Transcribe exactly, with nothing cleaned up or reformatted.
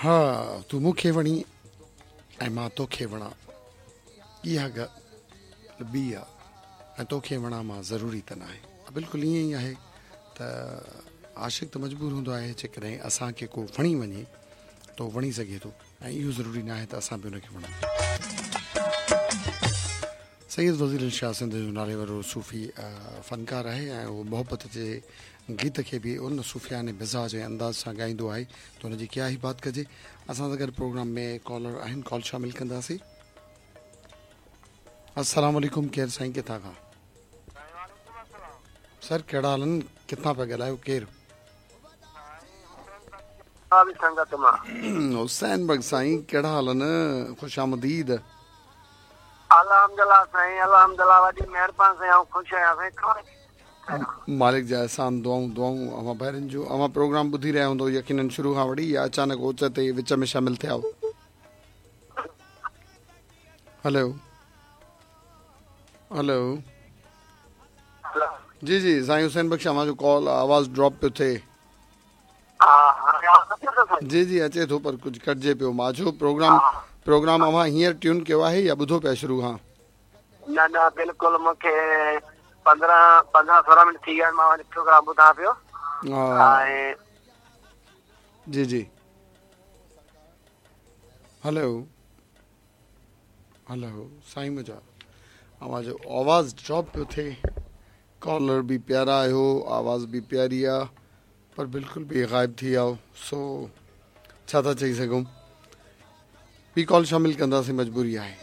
ها تون مون کي وڻي ۽ مان توکي وڻان، اها ڳالهه ٻي آ ۽ توکي وڻان مان ضروري ته ناهي. بلڪل ائين ئي آهي ته عاشق ته مجبور هوندو آهي، جيڪڏهن اسان کي ڪو وڻي وڃي ته اهو وڻي سگهي ٿو ۽ اهو ضروري ناهي ته اسان به ان کي وڻون. سيد وزير علي شاهه سنڌ جو نالي وارو صوفي فنڪار آهي ۽ اهو محبت جي گيت کي به ان صوفيانه مزاج ۽ انداز سان ڳائيندو آهي ته ان جي ڪيا ئي بات ڪجي. اسان سان گڏ پروگرام ۾ ڪالر آهن، ڪال شامل ڪنداسين. السلام عليڪم، ڪير سائين، ڪٿان کان؟ سر ڪهڙا حال آهن، ڪٿان پيا ڳالهايو، ڪير؟ حسين بخش سائين ڪهڙا حال آهن، خوش آمديد. الحمدلله سائين، الحمدلله، وڏي مهرباني سائين، آئون خوش آهيان سائين. مالڪ جا احسان، دعائون دعائون اوهان ڀائرن جون. اوهان پروگرام ٻڌي رهيا هوندؤ يقينن شروع کان وٺي يا اچانڪ اوچتي وچ ۾ شامل ٿيا آهيو؟ هلو هلو، جي جي سائين حسين بخش، اوهان جو ڪال آواز ڊراپ پيو ٿئي. جي جي اچي ٿو پر ڪجهه ڪٽجي پيو. مان چيو پروگرام پروگرام اوهان هينئر ٽيون ڪيو آهي يا ٻڌو پيا شروع کان؟ نه نه بلڪل، مون کي پندرهن پندرهن سورهن منٽ ٿي ويا آهن، مان پروگرام ٻڌان پيو. ۽ جي جي هلو هلو سائين، منهنجا اوهان جو آواز ڊراپ پيو ٿئي. ڪالر به پيارا آهيو، آواز به پياري آهي، پر بلڪل به غائب ٿي ويا. سو ڇا ٿا چئي سگهون، ٻي ڪال شامل ڪنداسين، مجبوري آهي.